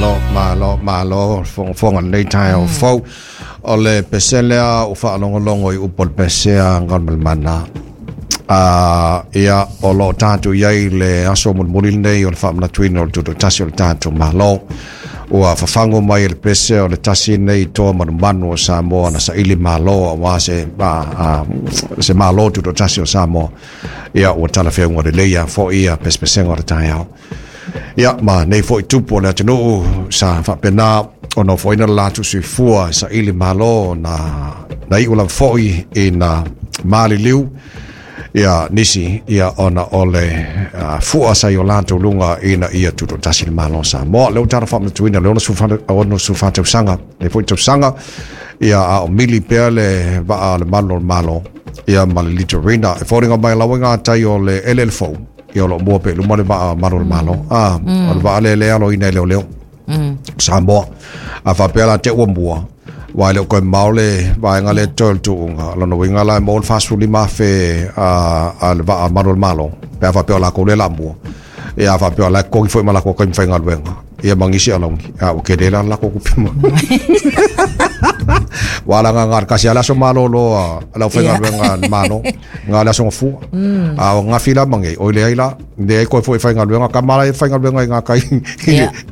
Malo, malo, malo, fogafoga lenei taeao fou. O le pese lea ua faalogologo i upu o le pese a Galumalemana. Ia, o lo o tatou i ai i le aso mulimuli lenei o le faamanatuina o le Tutoatasi o le tatou Malo. Ua fafago mai e le pese o le tasi lenei toa manumanu o Samoa na saili malo aua se, se Malo Tutoatasi o Samoa. Ia, ua talafeauga lelei lava foi ia pesepesega o le taeao. Ia, ma nei foi tupu o le atunuu sa faapena ona ofoina le latou soifua e saili malo na, na iu lava foi ina maliliu ia nisi ia ona o le fua sa i o latou luga ina ia tutoatasi le Malo o Samoa. Lea ua tatou faamanatuina le 64 tausaga, le foi tausaga, ia a o mili pea le vaa a le malu o le Malo ia ma le Litorina. E foliga mai lau i gatai o le eleele fou, ia o lo o mua pea i luma le vaa malu o le Malo. O le vaa lea lea e aloina e leoleo. Samoa. A faapea la te ua mua, aua e le o toe mamao le vaega lea e totoe o le tuuga, o lona uiga la e maua le 45,000 a le vaa malu o le Malo, pe a faapea o latou lea o le a mua. Ia a faapea o la e totogi foi ma latou taimi faigaluega, ia ma nisi alauni, a ua tele la le latou tupe maua. Aua leaga na o le tasi lava le aso malolo a le aufaigaluega a le Malo, na o le aso Gafua. A o ananafi la ma nei, oi leai la, leai toe foi e faigaluega, tama la e faigaluega i gatai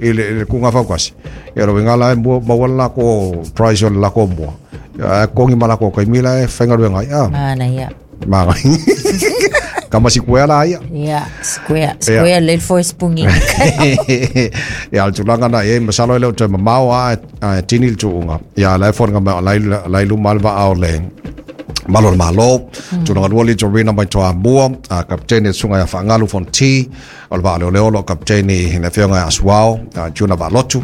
i le tuuga fautasi. Ia o le uiga la e maua le latou price o le latou mua, ae totogi ma latou taimi la e faigaluega ai. Manaia. Manaia. Kama sikuea la ia. Ia, sikuea. Sikuea le foi spungi. Ia, o le tulaga na i ai, masalo e le o toe mamao lava ae tini le tuuga. Ia, la e foliga mai o la e i luma le vaa o le Malo o le Malo. Tulaga lua Litorina mai Toamua, a kapitene le susuga ia Faagalu Fonti, o le vaa leoleo o lo o kapitene le afioga ia Asuao, Juna Vaalotu.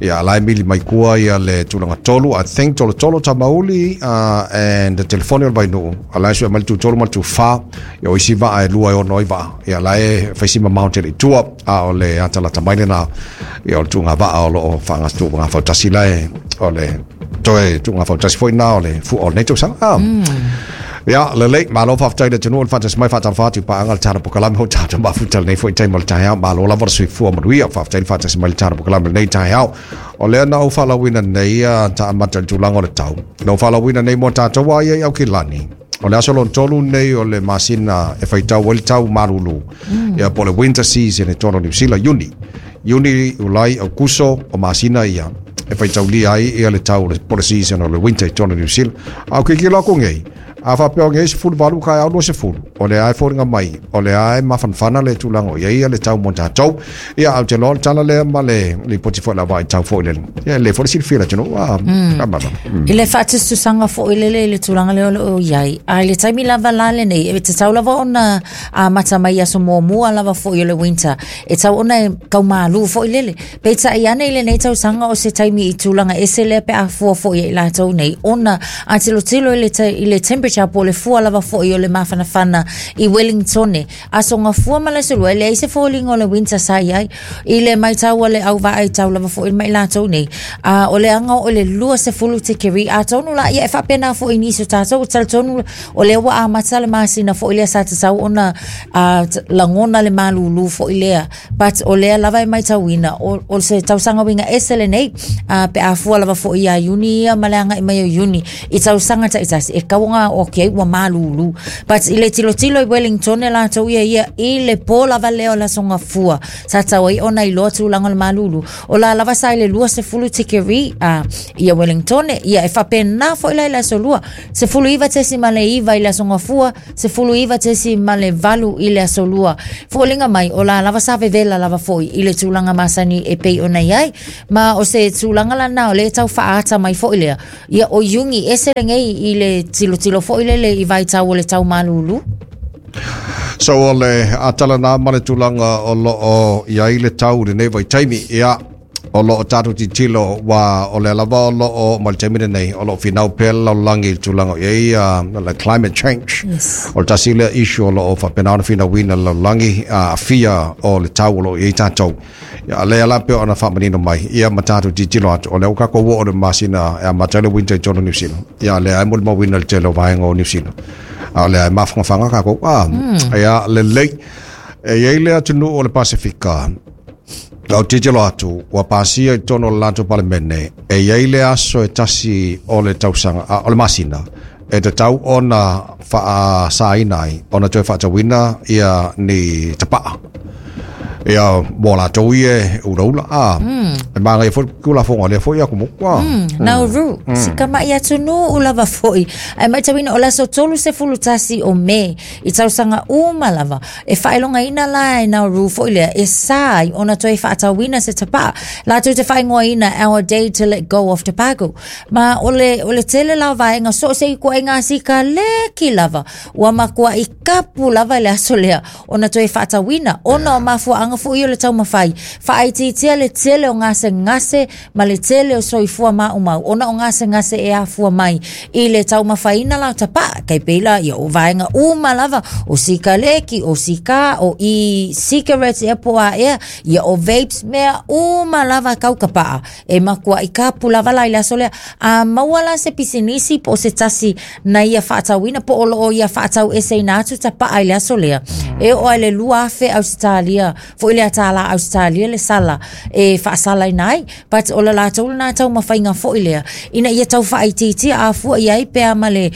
Ia, la e mili mai tua ia le tulaga tolu, I think Tolotolo Tamauli and telefoni o le Vainuu, a la e sue mai le tu tolu ma le tu fa, ia o isi vaa e lua e ono ai vaa, ia la e fai si mamao tele i tua, a o le atalata mai lena, ia o le tuuga vaa o lo o tuuga fautasi la e, o le toe tuuga fautasi foi na o le fua o lenei tausaga. Ia, lelei, malo faafetai i le atunuu o le faatasi mai, faatalofa atu i paaga le tatou polokalame o tatou mafuta lenei foi taimi o le taeao. Malo lava le soifua manuia, faafetai le faatasi mai le tatou polokalame lenei taeao. O lea na ou faalauina nei ta amata i le tulaga o le tau. Na ou faalauina nei mo tatou a ia i Aukilani. O le aso lona tolu nei o le masina e faitau ai le tau malulu. Ia po o le winter season i totonu o Niu Sila, Iuni. Iuni, Iulai, Aukuso, o masina ia e faitaulia ai ia le tau po o le season o le winter i totonu o Niu Sila. A o tilotilo atu nei, a faapea o nei 18 taeao 20, o lea e foliga mai, o lea e mafanafana le tulaga o i ai ia le tau mo tatou. Ia, ae ou te iloa o le tala lea ma le lipoti foi o le au vaai tau foi lele. Ia, e lelei foi le silafia e le atunuu. I le faatusatusaga foi lele i le tulaga lea o lo o i ai, a i le taimi lava la lenei, e tatau lava ona amata mai i aso muamua lava foi o le winter, e tatau ona e tau malū foi lele. Peitai ane i lenei tausaga o se taimi i tulaga ese lea pe a fua foi ia i latou nei, ona a tilotilo i le, i le temperature po o le fua lava foi o le mafanafana i Wellingtone, aso Gafua ma le aso Lua, e leai se foliga o le winter sa i ai. I le maitau a le au vaai tau lava foi ma i latou nei, a o le aga oo i le 20 tikeri, atonu la, ia e faapena foi i nisi o tatou, e talitonu o lea ua amata le masina foi lea sa tatau ona lagona le malūlū foi lea, but o lea lava e maitauina, o se tausaga uiga ese lenei, pe a fua lava foi ia Iuni ia ma le agai mai o Iuni i tausaga taitasi, e tatau ona okay ua malūlū. But i le tilotilo i Wellington e latou ia ia i le pō lava lea o le Aso Gafua, sa tatau ai ona iloa tulaga o le malūlū, o la lava sa i le 20 tikeri ia Wellington, ia e faapena foi la i le Aso Lua, 19.9 i le Aso Gafua, 19.8 i le Aso Lua. Foliga mai, o la lava sa vevela lava foi i le tulaga masani e pei ona i ai. Ma o se tulaga lana o lea e tau faaata mai foi lea. Ia, o Iuni ese lenei i le tilotilo foi lele i vaitau o le tau malūlū. So o le atala nā ma le tulaga o lo o i ai le tau i lenei vaitaimi. Ia, o lo o tatou tilotilo ua o lea lava o lo o ma le taimi lenei o lo o finau pea le lalolagi i le tulaga o i ai le climate change. O le tasi lea issue o lo o faapena ona finauina le lalolagi aafia o le tau o lo o i ai tatou. Ia, lea la pei ona faamanino mai, ia ma tatou tilotilo atu, o lea ua tatou oo i le masina e amata ai le winter i totonu o Niu Sila. Ia, lea e molimauina le tele o vaega o Niu Sila. A o lea e mafanafana tatou. Ia, lelei. E i ai le atunuu o le Pasefika. Lau tilotilo atu, ua pasia i totonu o le latou Palemene, e i ai le aso e tasi o le tausaga, a, o le masina, e tatau ona faasaina ai, ona toe faatauina ia ni tapaa. Ia, mo latou ia e ulaula, a. E magaia foi le Tulafono a lea foi atunuu, a. Nauru, si kama'i atunuu lava foi. Ae maitauina o le aso 31 o Me i tausaga uma lava, E faailogaina la e Nauru foi lea e sa ai ona toe faatauina se tapaa latou te faaigoaina Our Day to Let Go of Tobacco. Ma o le, o le tele la o vaega so o se ituaiga sikaleki lava ua matuai kapu lava i le aso lea ona toe faatauina ona o mafuaaga foi o le taumafai faaitiitia le tele o gasegase ma le tele o soifua maumau ona o gasegase e afua mai i le taumafaina la o tapaa. Tai pei la ia o vaega uma lava, o sikaleki, o sikā, o e-cigarettes ea po o a ea, ia o vapes, mea uma lava kau tapaa. E matuai kapu lava la i le aso lea. A maua la se pisinisi po o se tasi na ia faatauina po o lo o ia faataueseina atu tapaa i le aso lea, e oo lava i le 2,000 Ausetalia foi lea tālā Ausetalia le sala e faasalaina ai. But o le latou lena taumafaiga foi lea ina ia tau faaitiitia a fua i ai pe a ma le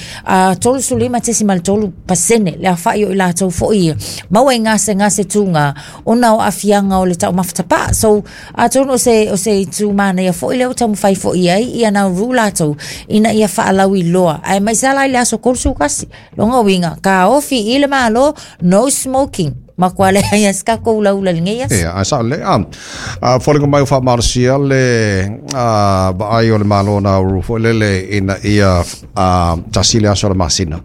35.3% le aofai o i latou foi ia maua i gasegase tūgā ona o aafiaga o le taumafa tapaa. So atonu o se itu manaia foi lea ua taumafai foi i ai ia Nauru latou ina ia faalauiloa aemaise lava la i le aso 31. Lona uiga, taofi i le Malo, no smoking. Matua leai lava se tatou ulaula i lenei aso. Ia, ae sao lelei. A, a foliga mai ua faamalosia le a, vaai o le Malo o Nauru foi lele ina ia a, tasi le aso o le masina.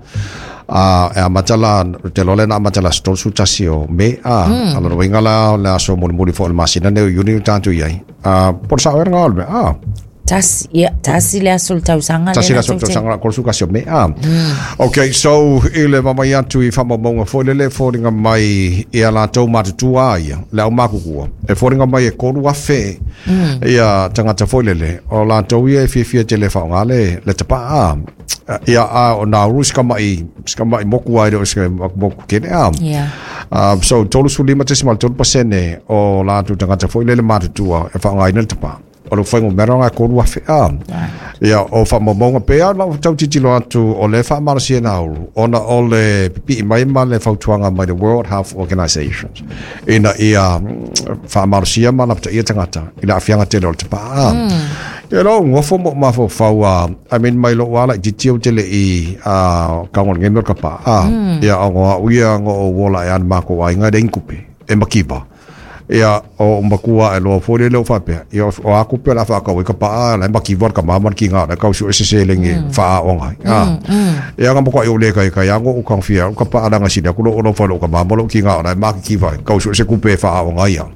A, e amata la, te iloa lea na amata i le aso 31 o Me, a, mm. A lona uiga la o le aso mulimuli foi o le masina nei o Iuni o tatou i ai. A, po o le sao ea lena o le mea, a. Tasi, ia, tasi le aso o le tausaga Tasi le aso o le tausaga la 31 o Me. Ah. Okay, so i le vaavaai atu i faamaumauga foi lele e foliga mai i a latou matutua a ia, le aumākukua, e foliga mai e 3,000 ia tagata foi lele, o latou ia e fiafia tele e faaaoga le, le tapaa. Ah. Ia, a o Nauru si kama'i, si kama'i moku ai le o se moku kele. Ah. Yeah. So 35.3% o latou tagata foi lele matutua e faaaogaina le tapaa. O le fuainumera lena e 3,000 a. Ia, o faamaumauga pea lau tau tilotilo atu o lea e faamalosia e Nauru ona o le pipii mai ma le fautuaga mai le World Health Organization ina ia faamalosia ma lapataia tagata i le aafiaga tele o le tapaa. Ia lou nofo ma ou mafaufau a, I mean mai lou lava laitiiti ou te le i tago i lenei mea o le tapaa. Ia ona o au ia na ou ola ae lava i le matou aiga e leai ni tupe e mativa. Ia, o ou matua ae loa foi lele o faapea, ia o a tupe o le a faatau ai ka paa, la e mativa le tama ma le tiga o la e tau sue se seleni e faaaoga ai. A. Ia na matuai ou le taitai lava na ou taofia au ka paa leaga sili atu lou alofa i lou tama ma lou tiga o la e matitiva ai, tau sue se tupe e faaaoga ai au.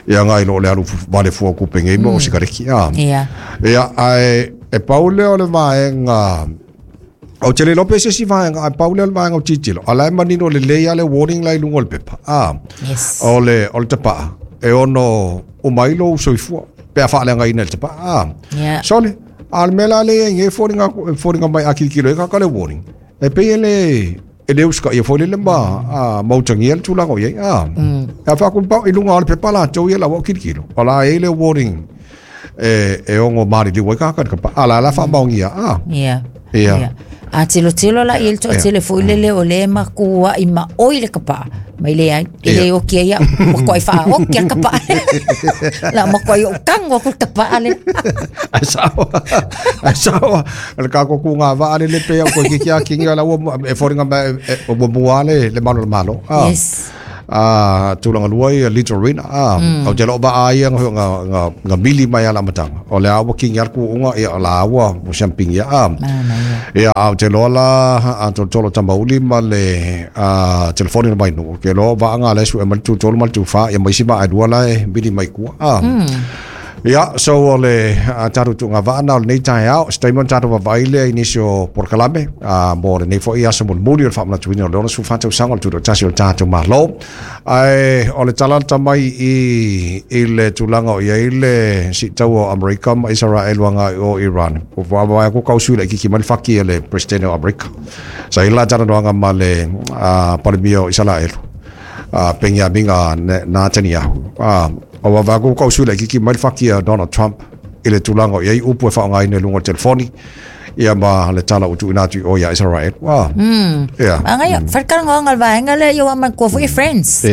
Ia nai lo le alu vale fua o tupe nei ma o sikareti. A. Ia, ae e pau lea o le vaega Ou te le iloa pe se isi vaega, ae pau lea o le vaega o tilotilo, a o la e manino lelei lava le warning la i luga o le pepa. A, Yes. o le, o le tapaa, e ono uma ai lou soifua pe a faaleagaina i le tapaa. A, Yeah. sole, a o le mea la lea e i ai nei e foliga atu, e foliga mai a tilotilo ai tagata le warning, e pei e le, e le usitaia foi lele ma, a, ma utagia le tulaga o i ai. A, e faakumpau i luga o le pepa latou ia la ua tilotilo, o la e i ai le warning e, e ono maliliu ai tagata i le tapaa. A la la faamaonia, a. Yeah. Ia. Yeah. A tilotilo la i ai le toatele foi lele o lea e matuai maoi le tapaa mai le ai e le oki ai au matuai faaoki a le tapaa la matuai ou tago atu le tapaa lea. Ai sao. Ai sao. O le tatou kūgā vaa lele pei au koe kiki a kingi o la ua e foliga mai e, ua mua le le malu o le Malo. Ah. Yes. A tulaga lua ia Litorina. A ou te loo vaa ia nga mili mai ala amataga. O le a ua kingi a le kuuga ia o la ua ua siampingia. A ia a ou te iloa la a tolotolo tamauli ma le a telefoni na mai nuu. Ke loa vaa nga le sue mai le 23 ma le 24 ia ma isi vaa e lua la e mili mai tua. A Ia, so o le a tatou tuuga vaa na o lenei taeao, se taimi ona tatou vaavaai lea i nisi o polokalame a mo lenei foi aso mulimuli o le faamanatuina o le 64 tausaga o le Tutoatasi o le tatou Malo. Ae o le tala lata mai i i le tulaga o i ai le siitaua o Amerika ma Isaraelu agai o Iran, ua vaavaai atu kau sui laitiiti mai le faki a le Peresetene o Amerika. Sa i ai le la talanoaga ma le Palemia o Isaraelu, a Peniamina Netanyahu. O wa va ku kau sui le kiki mai le faki a Donald Trump i le tulaga o i ai upu e faaaogaina i luga o le telefoni ia ma le tala ua tuuina atu i o ia Israel. Wa. Ia. Aga ia, whakaranga le vaenga lea ia wa matua foi friends.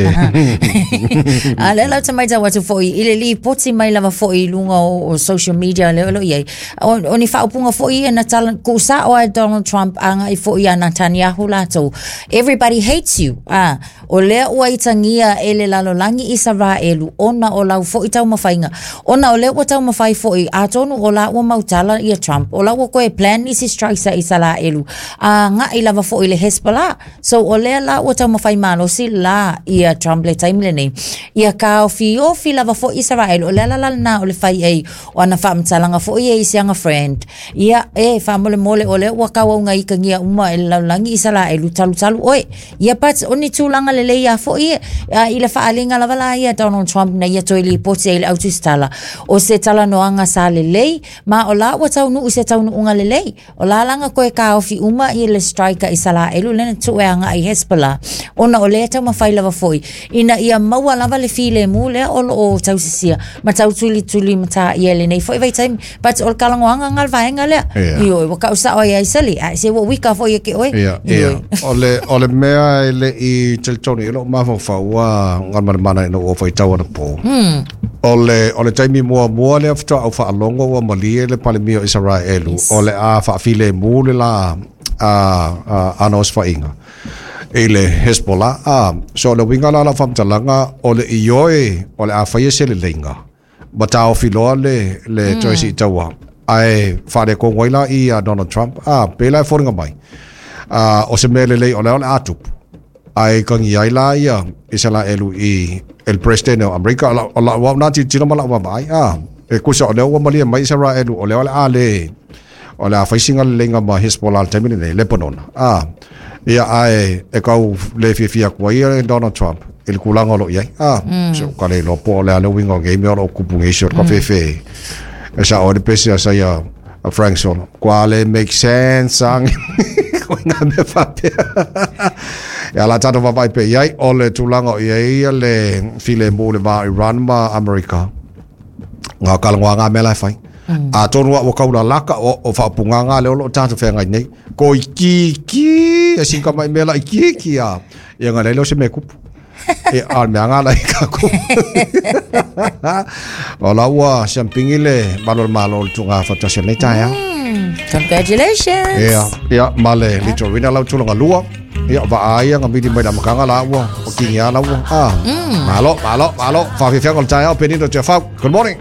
A lea lau te maitau atu foi i le lipoti mai lava foi i luga o social media lea o lo o i ai. O ni faaupuga foi ia na tala tuusao ai Donald Trump agai foi ia Netanyahu latou. Everybody hates you. Ah, o lea ua itagia e le lalolagi Isaraelu ona o lau foi taumafaiga. Ona o lea ua taumafai foi, atonu o la ua mautala ia Trump, o la ua toe plan nisi strikes a Isaraelu, agai lava foi i le Hezbollah. So o lea la ua taumafai malosi la ia Trump le taimi lenei. Ia taofiofi lava foi Isaraelu, o le ala la lena o le fai ai o ana faamatalaga foi ia i si ana friend. Ia, e, faamolemole o lea ua tauauga itagia uma e le lalolagi Isaraelu, talutalu oe. Ia but o ni tulaga lelei lava foi ia, a i le faaaliga lava la ia a Donald Trump na ia toe lipoti ai i le autusitala, o se talanoaga sa lelei, ma o la ua taunuu i se taunuuga lelei. O la la na toe taofi uma ia le strike a Isaraelu lea na tuu e agai i Hezbollah, ona o lea e taumafai lava foi ina ia maua lava le filemu lea o lo o tausisia ma tautulituli mataia i lenei foi vaitaimi. But o le talanoaga na le vaega lea. Yeah. Ioe, ua tau sao ai ai sali, ae se ua uika foi ia te oe. Ia, ia. O le mea e le i talitonu i lou mafaufau ua gamalemana ina ua faitau anapo. O le taimi muamua lea faatoa ou faalogo ua malie le Palemia o Isaraelu o le a faafilemu le la a ana osofaiga i le Hezbollah. A, so o le uiga la o lau faamatalaga, o le ioe o le a faia se leleiga ma taofi loa le toe siitaua ae faaletonu ai la i a Donald Trump. A, pei la e foliga mai a, o se mea lelei o lea o le a tupu ae kagi ai la ia Isaraelu i el president o Amerika. O lau au na tilotilo ma lau vaavaai, a, e kusa o lea ua malie mai Isaraelu o lea o le a le o le a fai sina leleiga ma Hezbollah i le taimi lenei Lebanona. A, ia ae e kau le fiafia atu ai ia Donald Trump i le tulaga o lo o i ai. A, so ka le iloa po o le a le uiga o nei mea o lo o tupu nei si o le kafefe e sao ai le pese a saia a Frank Solo. Kua le make sense ang. Ko ngā mea faapea. Ia la tātou vaavaai pea i ai, o le tulaga o i ai ia le filemu le va o Iran ma Amerika. Ngā kalongoa ngā mea la e fai. Atonu a ua kaulalaka o faaupugaga lea o lo o tātou feagai nei. Ko ikiiki, e sika mai mea la ikiiki a. Ia ngā lele o se mea kupu. E a le mea ngā la i ka kupu. O la ua siampingi le malo le malo o le tūnga whatasi o lenei taeao. Congratulations! Ia, ia, ma le Litorina lau tulaga lua. Ia, vaa ai nga mili mai le amataga la ua, o kingi a la ua. Ah, malo, malo, malo. Whawhiwhianga o le taeao, Penina Te Whau. Good morning.